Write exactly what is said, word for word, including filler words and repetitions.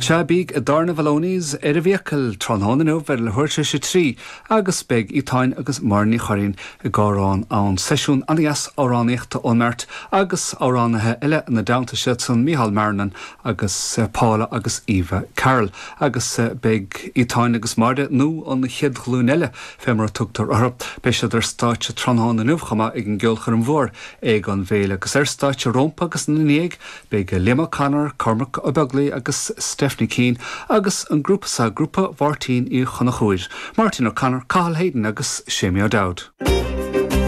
Sea beidh i dTábhairne Mholoney's ar an bhFiacail tráthnóna inniu ar leathuair tar éis a trí agus beidh Etáin agus Máire Ní Churraoin i gCárán ann seisiún an-deas amhránaíochta ón mbeirt agus amhránaithe eile ina dteannta siad san Micheál Marrinan agus Paula agus Eva Carroll agus beidh Etáin agus Máire nó an chéad ghlúin eile fé mar a tugtar orthu. Beidh siad ar stáitse tráthnóna inniu chomh maith ag an gceolchoirm mhór ag an bhféile agus ar stáitse rompu agus ina ndiaidh beidh Liam O'Connor, Cormac Ó Beaglaoich agus Stephanie Keane agus an grúpa sa grúpa Mháirtín Uí Chonchúir. Martin O'Connor, Cathal Hayden agus Séamie O'Dowd.